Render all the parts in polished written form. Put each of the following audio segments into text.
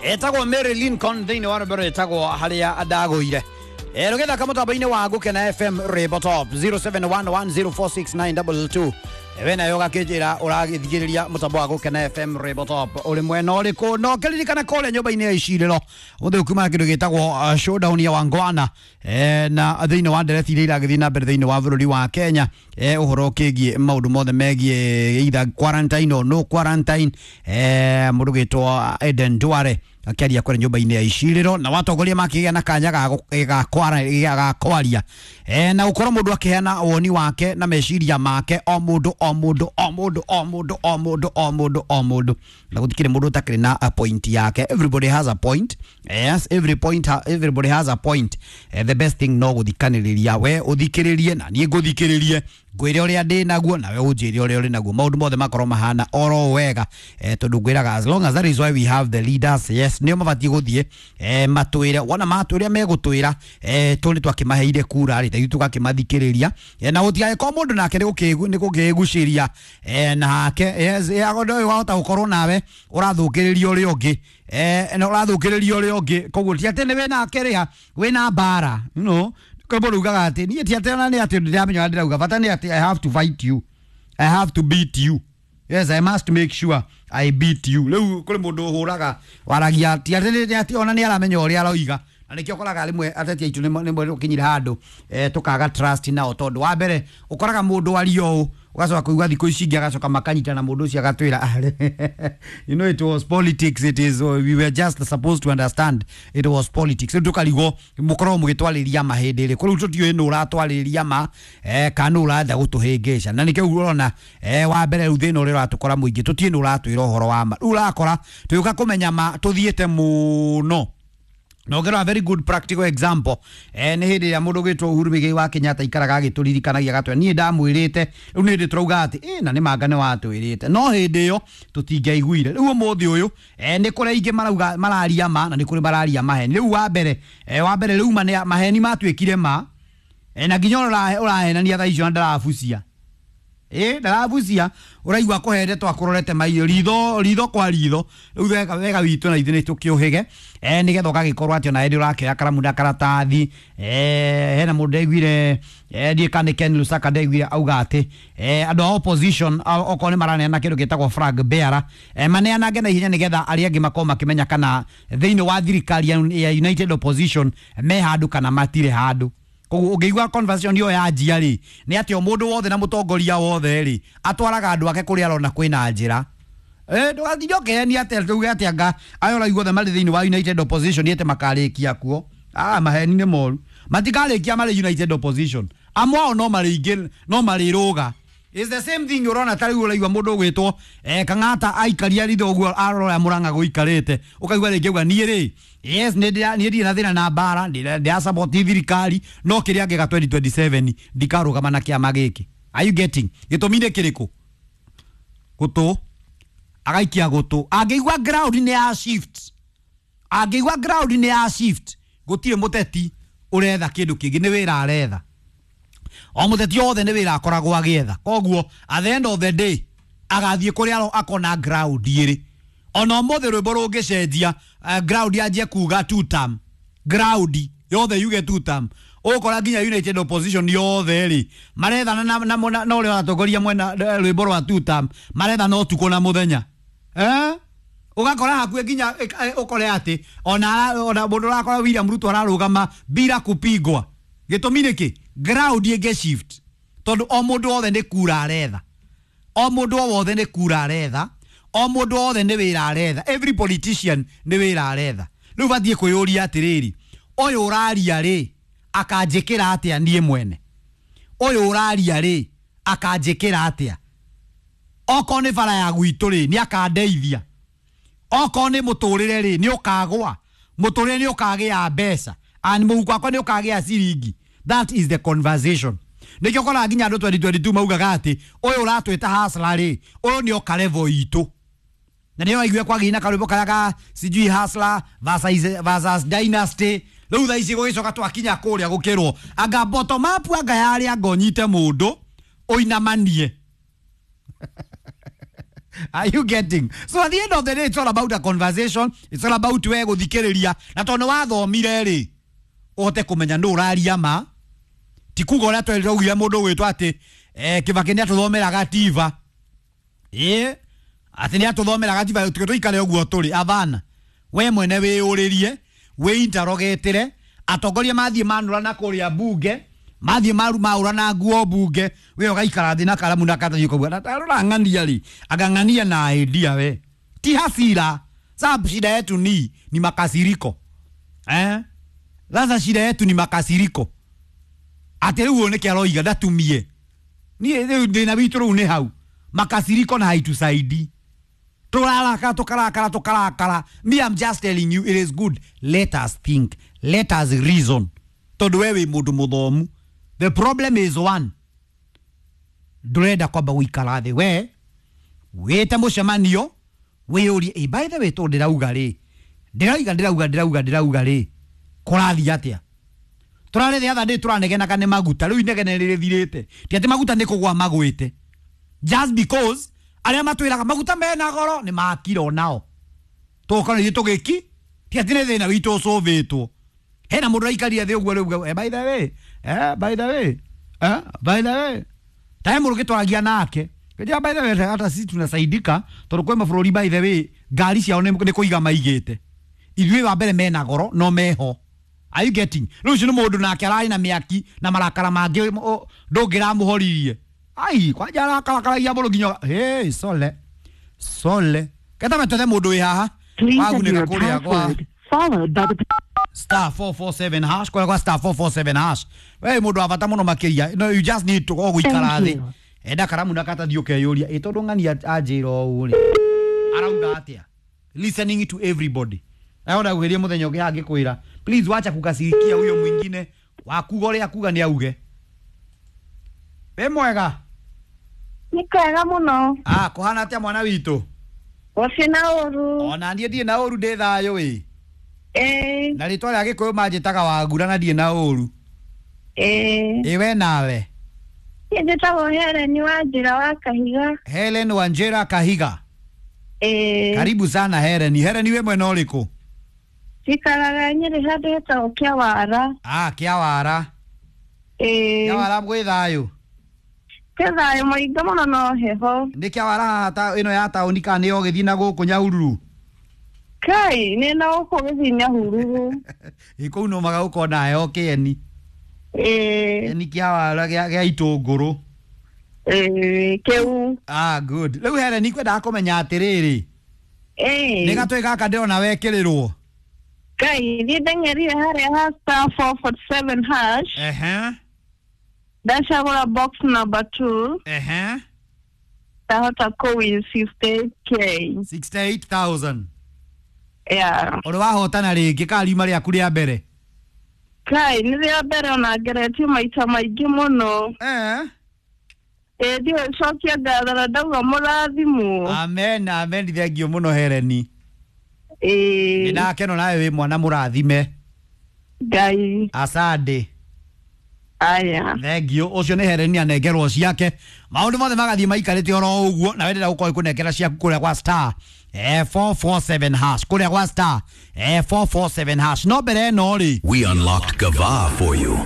Etagwo Mary Lincoln thĩinĩ wa rwĩmbo rwĩtagwo harĩa ndagũire. Rũgĩthaka mũtambo-inĩ wa Gũkena FM Rwĩmbo Top 0711046922. We nayo ũgakĩnjĩra ũragĩthikĩrĩria mũtambo wa Gũkena FM Rwĩmbo Top ũrĩ mwena ũrĩkũ, na ũkĩririkana kũrĩa nyũmba-inĩ ya icirĩro ũthĩ ũkiuma kĩndũ gĩtagwo showdown ya Wangwana, na thĩinĩ wa ndereti iria iragĩthiĩ na mbere thĩinĩ wa bũrũri wa Kenya, ũhoro ũkĩgiĩ maũndũ mothe megiĩ either quarantine or no quarantine. Mũndũ gĩtwo Eden Duare akĩaria kũrĩa nyũmba-inĩ ya icirĩro na watongoria makĩgĩa na kanya ga kwaria, na gũkorwo mũndũ akĩheana woni wake na meciria make, o mũndũ o mũndũ o mũndũ o mũndũ o mũndũ o mũndũ o mũndũ, na gũtikĩrĩ mũndũ ũtakĩrĩ na a point yake. Everybody has a point. Yes, every point everybody has a point. The best thing no gũthikanĩrĩria, we ũthikĩrĩrie na niĩ ngũthikĩrĩrie, ngwĩre ũrĩa ndĩ naguo nawe ũnjĩre ũrĩa ũrĩ naguo, maũndũ mothe makorwo mahana oro wega, tondũ ngwĩraga as long as that is why we have the leaders. Yes, nĩo mabatiĩ gũthiĩ, matwĩre wona matwĩre megũtwĩra, tũ nĩ twakĩmaheire kura rĩ, ithuĩ tũgakĩmathikĩrĩria, na gũtigagĩkorwo mũndũ nake nĩ gũkĩgucĩria, nake yes, ũyũ wahota gũkorwo nawe ũrathũkĩrĩria ũrĩa ũngĩ, na ũrathũkĩrĩria ũrĩa ũngĩ, koguo ti atĩ nĩ wĩna kĩrĩa wĩna mbara, you know, kwĩ mũndũ ugaga atĩ niĩ ti atĩ ona nĩ atĩ ndĩramenya ũrĩa ndĩrauga, bata nĩ atĩ I have to fight you, I have to beat you. Yes, I must make sure I beat you. Rĩu kũrĩ mũndũ ũhũraga waragia ti atĩ nĩ atĩ ona nĩ aramenya ũrĩa aroiga, na nĩkĩo ũkoraga rĩmwe ateti aitũ nĩ ũkinyire handũ, tũkaga trust nao, tondũ wa mbere ũkoraga mũndũ aria ũũ ũgacoka kũigua thikũ ici ingĩ agacoka makanyitana mũndũ ũcio agatwĩra, you know, it was politics, it is we were just supposed to understand it was politics. Rĩu tũkarigwo mũkoragwo mũgĩtwarĩria ma hĩndĩ ĩrĩkũ, rĩu tũtiũĩ nũ ũratwarĩria ma, kana nũ ũrenda gũtũhĩngĩca, na nĩkĩo ũrona, wa mbere rĩu thĩna ũrĩa ũratũkora mũingĩ tũtiũĩ nũ ũratwĩra ũhoro wa ma, rĩu ũrakora tũgĩũka kũmenya ma tũthiĩte mũno. Na ũngĩrora very good practical example, nĩ hĩndĩ ĩrĩa mũndũ ũgwĩtwo Uhuru Muigai wa Kenyatta aikaraga agĩtũririkanagia agatwĩra niĩ ndamwĩrĩte, rĩu nĩ hĩndĩ tũrauga atĩ na nĩ manga nĩ watwĩrĩte, no hĩndĩ ĩyo tũtingĩaiguire. Rĩu ũmũthĩ ũyũ, nĩ kũrĩ aingĩ marauga mararia ma na nĩ kũrĩ mararia maheni. Rĩu wa mbere rĩu maheni matuĩkire ma, na nginya ũrahenania thaa icio na ndarabucia, ndarabucia, ũraigua kũhende twakũrorete maitho ritho ritho kwa ritho. Rĩu wega wega witũ na ithuĩ nĩ tũkĩũhĩge, nĩgetha ũgagĩkorwo atĩ ona hĩndĩ ũrakĩoya karamu na karatathi. Hena mũndũ ndaiguire, ndiĩ kana nĩ Ken Lusaka ndaiguire auga atĩ, andũ a opposition okorwo nĩ maraneana kĩndũ gĩtagwo flag bearer, maneanange na ihenya nĩgetha arĩa angĩ makorwo makĩmenya kana thĩinĩ wa thirikari ya United Opposition me handũ kana matirĩ handũ. Koguo ũngĩigua conversation ĩyo yanjia rĩ, nĩ atĩ o mũndũ wothe na mũtongoria wothe rĩ atwaraga andũ ake kũrĩa arona kwĩna njĩra. Ndũgatinde ũkĩhenia atĩ tuge atĩ anga aya ũraigua othe marĩ thĩinĩ wa United Opposition ĩte makarĩkia kuo. Maheni nĩ moru, matikarĩkia marĩ United Opposition, amwe ao no marĩingĩ no marĩrũga. It's the same thing ũrona ta rĩu ũraigua mũndũ ũgwĩtwo, Kang'ata aikaria ritho ũguo arora Mũrang'a gũikarĩte, ũkaigua rĩngĩ auga niĩ rĩ, yes, niĩ ndirĩ na thĩna na mbara, ndĩra support thirikari, no kĩrĩa ngĩga 2027 ndikarũgama na kĩama gĩkĩ. Are you getting? Gĩtũmi nĩ kĩrĩkũ? Gũtũ agaikia gũtũ, angĩigua ground nĩ ya shift, angĩigua ground nĩ ya shift, gũtirĩ mũteti ũretha kĩndũ kĩngĩ, nĩ wĩra aretha. O mũteti wothe nĩ wĩra akoragwo agĩetha, koguo at the end of the day agathiĩ kũrĩa akona ground ĩrĩ. Ona ũmũthĩ rwĩmbo rũngĩcenjia, ground yanjie kuga two term, ground yothe yuge two term, ũgũkora nginya United Opposition yothe rĩ marethana na ũrĩa ũratongoria mwena rwĩmbo rwa two term, marethana ũtukũ na mũthenya, ũgakora hakuhĩ nginya ũkore atĩ ona mũndũ ũrakora William Ruto ararũgama bila kupigwa. Gĩtũmi nĩ kĩ? Ground ĩngĩ shift, tondũ o mũndũ wothe nĩ kura aretha, o mũndũ o wothe nĩ kura aretha, o mũndũ wothe nĩ wĩra aretha, every politician nĩ wĩra aretha. Rĩu batiĩ kwĩyũria atĩrĩrĩ, ũyũ ũraria rĩ akanjĩkĩra atĩa niĩ mwene? Ũyũ ũraria rĩ akanjĩkĩra atĩa? Okorwo nĩ bara ya gwitũ rĩ nĩ akandeithia, okorwo nĩ mũtũrĩre rĩ nĩ ũkagwa, mũtũrĩre nĩ ũkagĩa mbeca, and mũhuko wakwa nĩ ũkagĩa ciringi. That is the conversation. Nĩkĩo ũkoraga nginya andũ 2022 maugaga atĩ ũyũ ũratwĩta hustler rĩ, ũyũ nĩ oka level itũ. Na nĩyo aigue kwagĩire na karwĩmbo karĩa ka sijui hustler versus dynasty. Rĩu thaa ici gũgĩcoka twakinya kũrĩa gũkĩrwo anga bottom up, anga yarĩa anga ũnyite mũndũ ũinamanie. Are you getting? So at the end of the day, it's all about a conversation. It's all about we guthikiriria. Na tondu wathomire ri, uhote kumenya ndu uraria ma. Ti kuga uria twerire ugia mundu gwitwo ati Kibaki ni atuthomera gativa. Ati ni atuthomera gativa tuikare uguo turi avana. We mwene wiyuririe, wiinterogetire, atongoria mathie manura na kuria bunge, mathie maru maura na nguo bunge, we ugaikara thi na karamu na katathi ukaigua na tarora ng'ania ri, angang'ania na idea we. Ti hasira. Sababu shida yetu ni makasiriko. Sasa shida yetu ni makasiriko. Ati riu niki aroiga ndatumie. Ni riu ndina witu riu ni hau. Makasiriko na haitusaidi. Turaraka tukarakara tukarakara. Me, I'm just telling you, it is good. Let us think. Let us reason. Tondu wewe mundu muthomu. The problem is one. Ndurenda kwamba guikara thi we wite mucemanio wiyurie, by the way tondu ndirauga ri, ndirauga ndirauga ndirauga ndirauga ri, kurathi atia? Turare the other day turanegenaga ni maguta, riu inegene rithirite. Ti ati maguta ni kugwa magwite. Just because aria matwiraga maguta mena goro ni makiro nao. Tukona ithuĩ tugiki ti ati ni thina witu ucuvitwo. Hena mundu aikaria thi uguo riu, by the way, by the way, by the way, tae mundu gitwaragia nake. Kejia by the way, hata sisi tunasaidika tondu kwe mabũrũri by the way ngari ciao ni kuiga maigite. Ithuĩ wa mbere mena goro no meho. Are you getting? Rĩu ũcio nĩ mũndũ nake ararĩ na mĩaki na marakara mangĩ ndũngĩramũhoririe. Ai, kwanja arakarakaragia mũno nginya hey, sole. Sole. Keta metothe mũndũ wĩ haha. Wagunĩka kũrĩa kwa star 447 hash, kũrĩa kwa star 447 hash. We mũndũ wa bata mũno makĩria. No, you just need to go gũikara thĩ. Enda karamu na katathi ũkeyũria, ĩ tondũ ng'ania anjĩra ũũ rĩ, arauga atĩa? Listening to everybody. Naona gwĩria mũthenya ũngĩ angĩkwĩra, please wacha kukasirikia huyo mwingine, wakuga ũrĩa akuga nĩ auge. Wĩ mwega? Nĩ kwega mũno. Ah, kũhana atĩa mwana witũ? Gũtirĩ na ũru. Ona niĩ ndirĩ na ũru, ndĩ thayũ ĩ. Na rĩtwa rĩa Gĩkũyũ manjĩtaga Wangura na ndirĩ na ũru. Ĩ we nawe? Niĩ njĩtagwo Helen Wanjĩra wa Kahiga. Helen Wanjĩra Kahiga. Karibu sana Helen. Helen wĩ mwena ũrĩkũ? Njikaraga Nyĩrĩ handũ hetagwo Kĩawara. Ah, Kĩawara. Kĩawara gwĩ thayũ? Kwĩ thayũ mũingĩ mũno no heho. Nĩ Kĩawara haha ta ĩno ya taũni kana nĩ ũgĩthiĩ na gũkũ Nyahururu? Kai, nĩ na gũkũ gĩthiĩ Nyahururu. Ĩ kũu no maga gũkona heho kĩeni. Kĩeni Kĩawara gĩa itũngũrũ. Kĩu. Ah, good. Rĩu Helen kwendaga kũmenya atĩrĩrĩ. Nĩ gatwĩ gaka ndĩrona wekĩrĩrwo. Kai, niĩ ndeng'erire harĩa ha star 447 hash. Ndacagũra box number 2. Ndahota kũwin 68K. 68,000. Yeah. Ũrĩ wahotana rĩngĩ kana riuma rĩaku rĩa mbere? Kai, nĩ rĩa mbere ona ngeretie maita maingĩ mũno. Ndiũĩ cokia ngatho na ndauga mũrathimwo. Amen, amen, thengio mũno Helen. Nĩndakena nawe wĩ mwana mũrathime. Ngai. Asante. Aya. Thengio, ũcio nĩ Helen anengerwo ciake. Maũndũ mothe magathiĩ maikarĩte oro ũguo, na wendera gũkorwo ĩkũnengera ciaku kũrĩa kwa star 447 hash, kũrĩa kwa star 447 hash. No mbere ĩno rĩ, We unlocked Gava for you.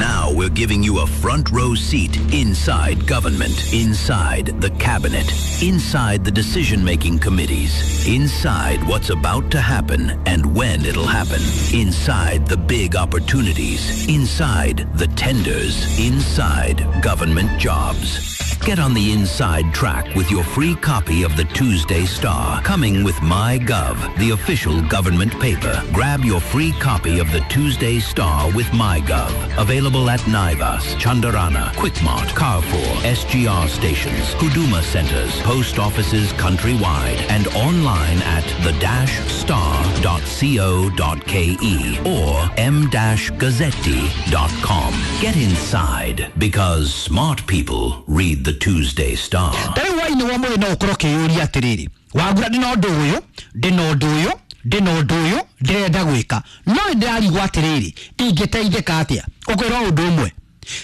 Now we're giving you a front row seat inside government, inside the cabinet, inside the decision-making committees, inside what's about to happen and when it'll happen, inside the big opportunities, inside the tenders, inside government jobs. Get on the inside track with your free copy of the Tuesday Star, coming with MyGov, the official government paper. Grab your free copy of the Tuesday Star with MyGov. Available at Naivas, Chandarana, Quickmart, Carrefour, SGR stations, Huduma centers, post offices countrywide, and online at the-star.co.ke or m-gazzetti.com. Get inside, because smart people read the Tuesday Star. Tari waini wa mwena ukorwo kiyuria atiriri, Wangura ndina undu uyu, ndina undu uyu, ndina undu uyu ndirenda gwika, no ndirarigwo atiriri ingiteithika atia. Ukwirwo undu umwe,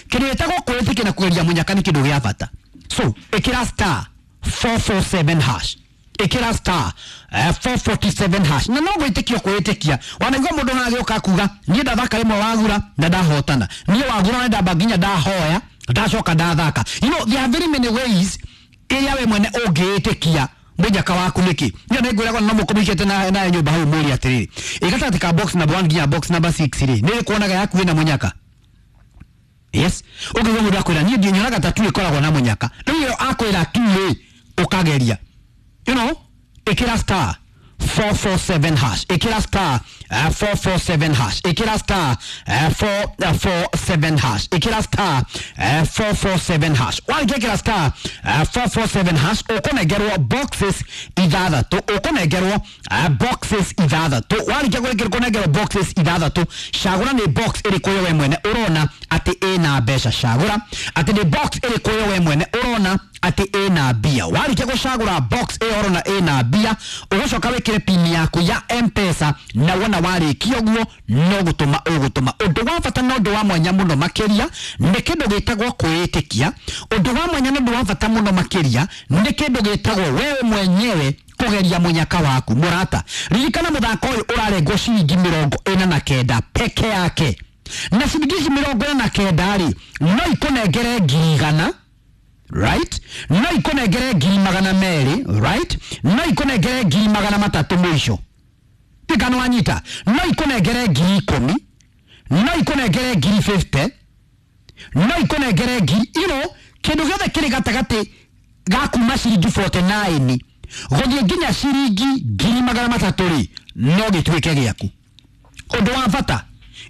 kindu gitagwo kwitikia na kugeria munyaka ni kindu gia bata. So ikira star 447 hash. Ĩkĩra star 447 hash na no gwĩtĩkia kwĩtĩkia. Wanaigua mũndũ nagĩũka kuga niĩ ndathaka rĩmwe wagura na ndahotana, niĩ wagura na ndamba nginya ndahoya ndacoka ndathaka. You know, there are very many ways ĩrĩa we mwene ũngĩĩtĩkia mũnyaka waku nĩkĩ. Niĩ nĩ ngwĩraga no mũkũmĩkĩte na nyũmba hau mũrie atĩrĩrĩ, ĩ gatagatĩ ka box number 1 nginya box number 6 rĩ, nĩ ĩkuonaga yaku ĩna mũnyaka? Yes, ũngĩigua mũndũ akwĩra niĩ ndinyonaga ta tu ĩkoragwo na mũnyaka, rĩu ĩyo akwĩra tu rĩ, ũkageria. You know, ĩkĩra star 447 hash, ĩkĩra star 447 hash, ĩkĩra star 447 hash, ĩkĩra star 447 hash. Warĩkia ĩkĩra star 447 hash, ũkũnengerwo boxes ithathatũ, ũkũnengerwo boxes ithathatũ. Warĩkia kũnengerwo boxes ithathatũ, cagũra nĩ box ĩrĩkũ ĩyo we mwene ũrona atĩ ĩna mbeca. Cagũra atĩ nĩ box ĩrĩkũ ĩyo we mwene ũrona atĩ ĩna mbia. Warĩkia gũcagũra box ĩyo ũrona ĩna mbia, ũgũcoka wĩkĩre pin yaku ya M-Pesa, na wona warĩkia ũguo no gũtũma ũgũtũma. Ũndũ wa bata na ũndũ wa mwanya mũno makĩria nĩ kĩndũ gĩtagwo kwĩĩtĩkia. Ũndũ wa mwanya na ũndũ wa bata mũno makĩria nĩ kĩndũ gĩtagwo wewe mwenyewe kũgeria mũnyaka waku. Mũrata, ririkana mũthako ũyũ ũrarengwo ciringi 49 peke yake, na ciringi ici 49 rĩ, no ikũnengere 100,000, right? No ikũnengere 200,000, right? No ikũnengere 300,000 mũico. Tikana wanyita, no ikũnengere 10,000, no ikũnengere 50,000, no ikũnengere ngiri, you know, kĩndũ gĩothe kĩrĩ gatagatĩ ga kuma ciringi 49 gũthiĩ nginya ciringi 300,000 rĩ, no gĩtuĩke gĩaku. Ũndũ wa bata,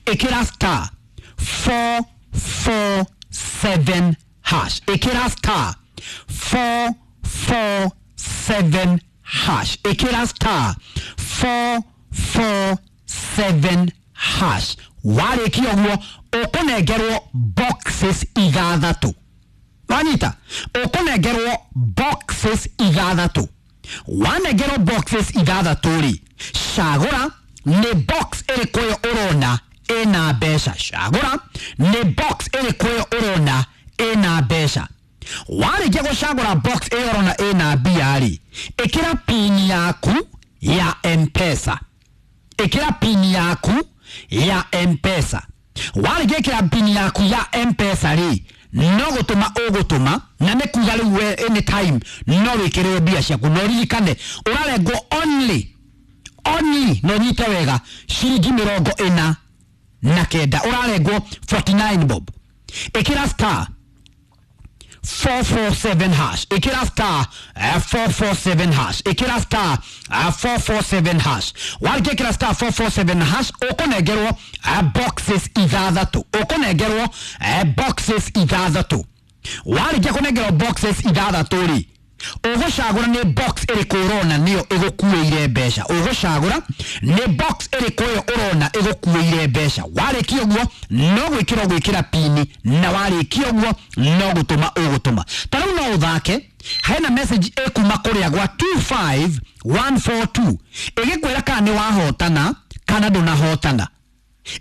ĩkĩra star 447 hash, ĩkĩra star 447 hash, ĩkĩra star 447 hash. Warĩkia ũguo ũkũnengerwo boxes ithathatũ. Wanyita, ũkũnengerwo boxes ithathatũ. Wanengerwo boxes ithathatũ rĩ, cagũra nĩ box ĩrĩkũ ĩyo ũrona ĩna mbeca. Cagũra nĩ box ĩrĩkũ ĩyo ũrona ĩna mbeca. Warĩkia gũcagũra box ĩyo ũrona ĩna mbia rĩ, ĩkĩra pin yaku ya M-Pesa, ĩkĩra pin yaku ya M-Pesa. Warĩkia ĩkĩra pin yaku ya M-Pesa rĩ, no gũtũma ũgũtũma, na nĩ kuga rĩu we anytime no wĩkĩrĩrwo mbia ciaku. No ririkane ũrarengwo only only, no nyite wega, ciringi 49, ũrarengwo 49 bob. Ĩkĩra star 447 hash, ĩkĩra star 447 hash, ĩkĩra star 447 hash. Warĩkia ĩkĩra star 447 hash, ũkũnengerwo boxes ithathatũ, ũkũnengerwo boxes ithathatũ. Warĩkia kũnengerwo boxes ithathatũ rĩ, ũgũcagũra nĩ box ĩrĩkũ ũrona nĩyo ĩgũkuĩire mbeca. Ũgũcagũra nĩ box ĩrĩkũ ĩyo ũrona ĩgũkuĩire mbeca. Warĩkia ũguo no gwĩkĩra ũgwĩkĩra pini, na warĩkia ũguo no gũtũma ũgũtũma. Ta rĩu no ũthake, hena message ĩkuma kũrĩa gwa 25142 ĩgĩkwĩra kana nĩ wahotana kana ndũnahotana,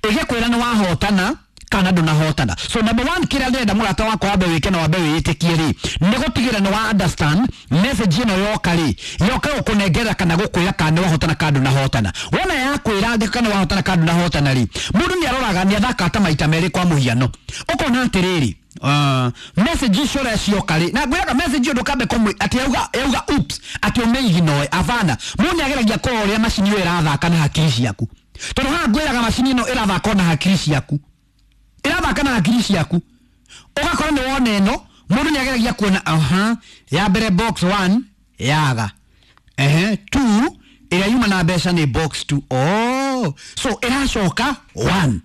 ĩgĩkwĩra nĩ wahotana kana ndũnahotana. So number one, kĩrĩa ndĩrenda mũrata wakwa wambe wĩke na wambe wĩĩtĩkie rĩ, nĩ gũtigĩrĩra nĩ wa understand message ĩno yoka rĩ, yoka gũkũnengera kana gũkwĩra kana nĩ wahotana kana ndũnahotana. Wona yakwĩra ndĩ kana wahotana kana ndũnahotana rĩ, mũndũ nĩ aroraga nĩ athaka ta maita merĩ kwa mũhiano, ũkona atĩrĩrĩ, message icio ũrĩa cioka rĩ, na ngwĩraga message ĩyo ndũkambe kũmũ atĩ yauga oops, atĩ ũmĩignore. Abana, mũndũ nĩ ageragia kũrora ũrĩa macini ĩyo ĩrathaka na hakiri ciaku, tondũ haha ngwĩraga macini ĩno ĩrathaka na hakiri ciaku, ĩrathaka na hakiri ciaku. Ũgakora nĩ wona ĩno, mũndũ nĩ ageragia kuona aha, ya mbere box 1 yaga, ehe 2 ĩrĩa yuma na mbeca nĩ box 2, oh so ĩracoka 1.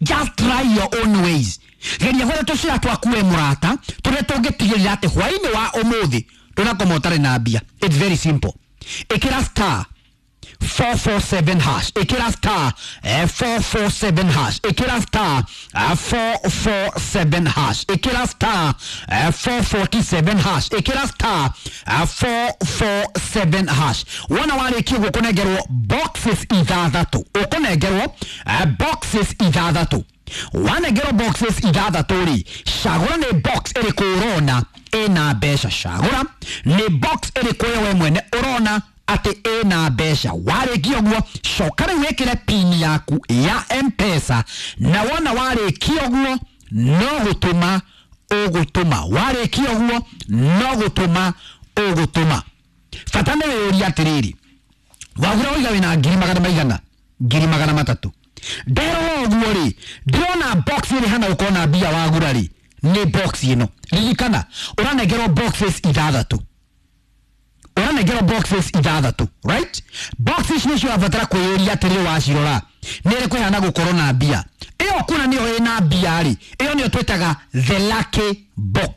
Just try your own ways. Geria gwetha tũcĩra twaku we mũrata, tũrĩa tũngĩtigĩrĩra atĩ hwaĩ-inĩ wa ũmũthĩ ndũnakoma ũtarĩ na mbia. It's very simple. Ĩkĩra star 447 hash, ĩkĩra star 447 hash, ĩkĩra star 447 hash, ĩkĩra star 447 hash, ĩkĩra star 447 hash. Wona warĩkia ũguo ũkũnengerwo boxes ithathatũ, ũkũnengerwo boxes ithathatũ. Wanengerwo boxes ithathatũ rĩ, cagũra nĩ box ĩrĩkũ ũrona ĩna mbeca. Cagũra nĩ box ĩrĩkũ we mwene ũrona atĩ ĩna mbeca. Warĩkia ũguo, coka rĩu wĩkĩre pin yaku ya Mpesa, na wona warĩkia ũguo no gũtũma ũgũtũma. Warĩkia ũguo no gũtũma ũgũtũma. Bata nĩ wĩyũrie atĩrĩrĩ, wagũra ũiga wĩna ngiri magana maigana, ngiri magana matatũ. Nderora ũguo rĩ, ndĩrona box ĩrĩ hana gũkorwo na mbia wagũra rĩ nĩ box ĩno. Ririkana ũranengerwo boxes ithathatũ, ũranengerwo boxes ithathatũ, right? Boxes nĩcio ũrabatara kwĩyũria atĩrĩrĩ, wacirora nĩ ĩrĩkũ ĩhana gũkorwo na mbia. Ĩyo kuna nĩyo ĩna mbia rĩ, ĩyo nĩyo twĩtaga the lucky box.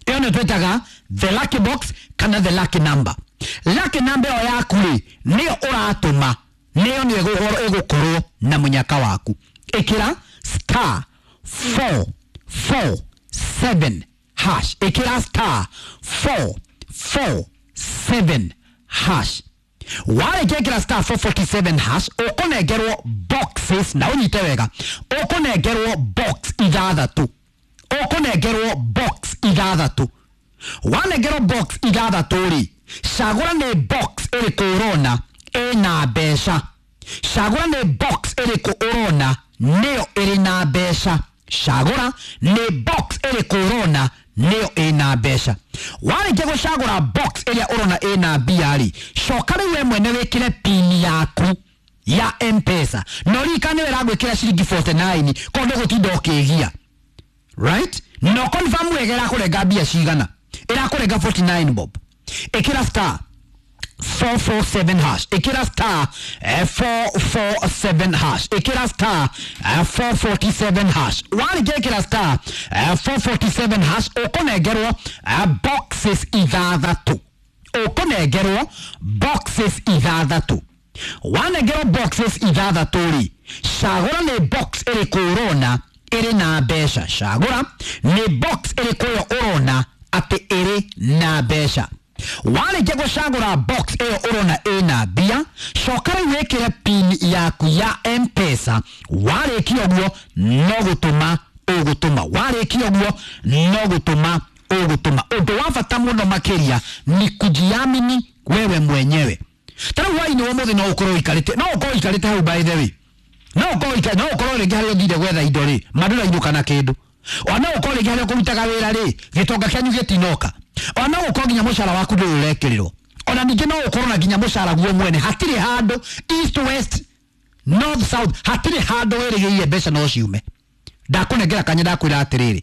Ĩyo nĩyo twĩtaga the lucky box kana the lucky number. Lucky number ĩyo yaku rĩ, nĩyo ũratũma, nĩyo nĩyo ĩgũkorwo na mũnyaka waku. Ĩkĩra star 447 hash, ĩkĩra star 447 hash. Warĩkia ĩkĩra star 447 hash, ũkũnengerwo boxes, na ũnyite wega, ũkũnengerwo box ithathatũ, ũkũnengerwo box ithathatũ. Wanengerwo box ithathatũ rĩ, cagũra nĩ box ĩrĩkũ ũrona ĩna mbeca. Cagũra nĩ box ĩrĩkũ ũrona nĩyo ĩrĩ na mbeca. Cagũra nĩ box ĩrĩkũ ũrona nĩyo ĩna mbeca. Warĩkia gũcagũra box ĩrĩa ũrona ĩna mbia rĩ, coka rĩu we mwene wĩkĩre pin yaku ya Mpesa, na ũririkane we ĩragwĩkĩra ciringi 49 koguo ndũgũtinda ũkĩgia, right? No confirm wega ĩrakũrenga mbia cigana. Ĩrakũrenga 49 bob. Ĩkĩra star 447 hash, ĩkĩra star 447 hash, ĩkĩra star 447 hash. Warĩkia ĩkĩra star 447 hash, ũkũnengerwo boxes ithathatũ, ũkũnengerwo boxes ithathatũ. Wanengerwo boxes ithathatũ rĩ, cagũra nĩ box ĩrĩkũ ũrona ĩrĩ na mbeca. Cagũra nĩ box ĩrĩkũ ĩyo ũrona atĩ ĩrĩ na mbeca. Warĩkia gũcagũra box ĩyo ũrona ĩna mbia, coka rĩu wĩkĩre pin yaku ya Mpesa. Warĩkia ũguo no gũtũma ũgũtũma. Warĩkia ũguo no gũtũma ũgũtũma. Ũndũ wa bata mũno makĩria ni kujiamini wewe mwenyewe. Ta rĩu hwaĩ-inĩ wa ũmũthĩ no ũkorwo ũikarĩte, no ũkorwo ũikarĩte hau, by the way, no ũkorwo no ũkorwo rĩngĩ harĩa ũthire gwetha indo rĩ, mandũrainũka na kĩndũ. Ona no ũkorwo rĩngĩ harĩa ũkũrutaga wĩra rĩ, gĩtonga kĩanyu gĩtinoka. Ona no ũkorwo nginya mũcara waku ndũrĩ ũrekĩrĩrwo. Ona ningĩ no ũkorwo na nginya mũcara guo mwene hatirĩ handũ, east, west, north, south, hatirĩ handũ wĩrĩgĩrĩire mbeca no ciume. Ndakũnengera kanya, ndakwĩra atĩrĩrĩ,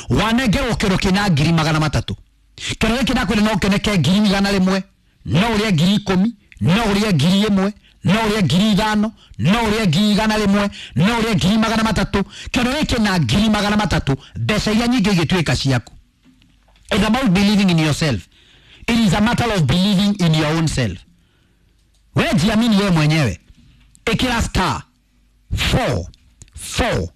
wanengerwo kĩro kĩna ngiri magana matatũ, kĩro gĩkĩ ndakwĩra no kĩoneke ngiri igana rĩmwe, no ũrĩe ngiri ikũmi, no ũrĩe ngiri ĩmwe, no ũrĩe ngiri ithano, no ũrĩe ngiri igana rĩmwe, no ũrĩe ngiri magana matatũ. Kĩro gĩkĩ na ngiri magana matatũ, mbeca iria nyingĩ igĩtuĩka ciaku. It's about believing in yourself. It is a matter of believing in your own self. Wewe jiamini wewe mwenyewe. Ĩkĩra star 4 4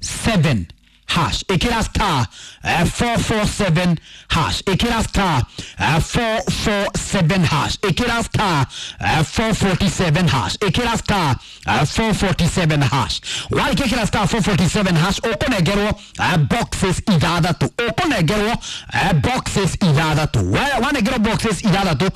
7 hash, ĩkĩra star 447 hash, ĩkĩra star 447 hash, ĩkĩra star 447 hash, ĩkĩra star 447 hash. Warĩkia ĩkĩra star 447 hash, ũkũnengerwo boxes ithathatũ, ũkũnengerwo boxes ithathatũ. Wanengerwo boxes ithathatũ.